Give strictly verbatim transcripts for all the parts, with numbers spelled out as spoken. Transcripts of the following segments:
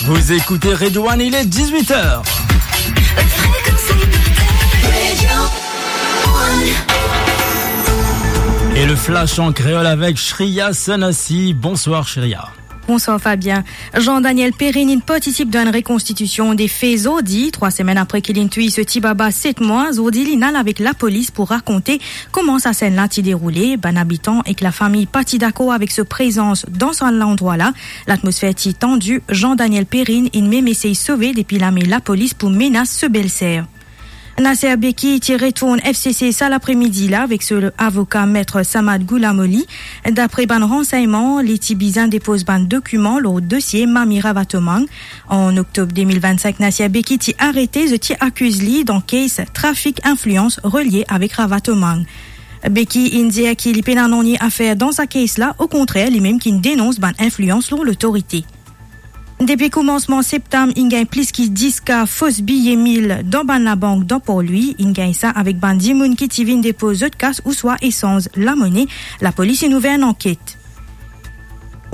Vous écoutez Radio One, il est dix-huit heures. Et le flash en créole avec Shreya Sanasi. Bonsoir Shreya. Bonsoir Fabien. Jean-Daniel Perrine inn partisip dan enn rekonstitision de fe zordi, trwa semenn apre ki linn touy so ti baba set mwa. Zordi, li'nn al avek lapolis pou rakonte kouma sa senn la ti deroule. Bann abitan ek lafami pa ti dakor avek so prezans dan sa landrwa la. Latmosfer ti tandi. Jean-Daniel Perrine inn mem esey sove depi lame lapolis pou menas so belser. Nasser Becky ti retourn F C C sa lapremidi la avek so avoka, Maître Samad Goulamoli. Dapre bann ransegnman, li ti bizin depoz bann dokiman lor dosie Mami Ravatomang. An oktob de mil vennsink, Nasser Becky ti arete, zot ti akiz li dan case trafik inflians relie avek Ravatomang. Becky inn dir ki li pena nanye afer dan sa case la, okontrer, limem ki inn denons bann inflians lor lotorite. Depi koumansman septam, inn gagn plis ki dis ka fos biye mil dan bann labank dan Port Louis. Inn gagn sa avek bann dimoun ki ti vinn depoz zot kas ouswa esanz lamone. Lapolis inn ouver enn anket.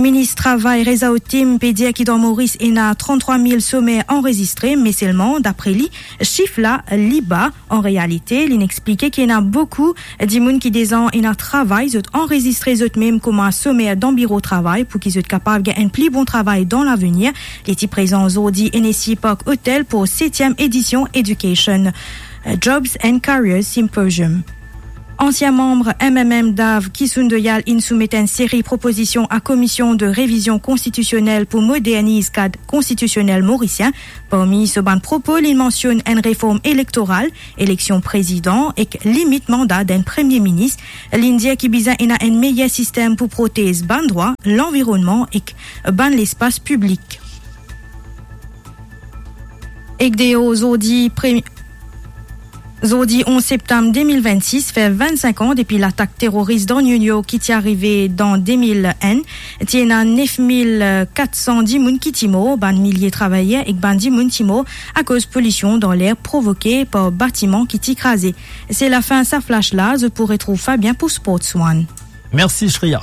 Minis Travay Reza Ottim pe dir ki dan Moris ena tranntrwa mil somer anrezistre, me selman, dapre li, sif la li ba. An realite, li'nn explike ki ena boukou dimoun ki deza ena travay, zot anrezistre zot mem kouma somer dan biro travay pou ki zot kapav gagn enn pli bon travay dan lavenir. Li ti prezan zordi Hennessy Park Hotel pou setiem edision Education, eh, Jobs and Careers Symposium. Ansien manm M M M Dav Kisun Doyal inn soumet enn seri propozision a Komision de Revizion Konstitisionel pou moderniz kad konstitisionel morisien. Parmi so bann propo, li'nn mansionn enn reform elektoral, eleksion prezidan ek limit manda d'enn premie minis. Li'nn dir ki bizin ena enn meyer sistem pou protez bann drwa, lanvironnman ek bann lespas piblik. Ek deor zordi pre-, zordi onz septam de mil vennsis, fer vennsink an depi latak teroris dan New York ki ti arive dan de mil enn. Ti ena nef mil kat san dimoun ki ti mor, bann milie travayer ek bann dimoun ti mor akoz polision dan ler provoke par batiman ki ti kraze. Se lafin sa flash la, zot pou retrouv Fabien pou Sports One. Mersi, Shreya.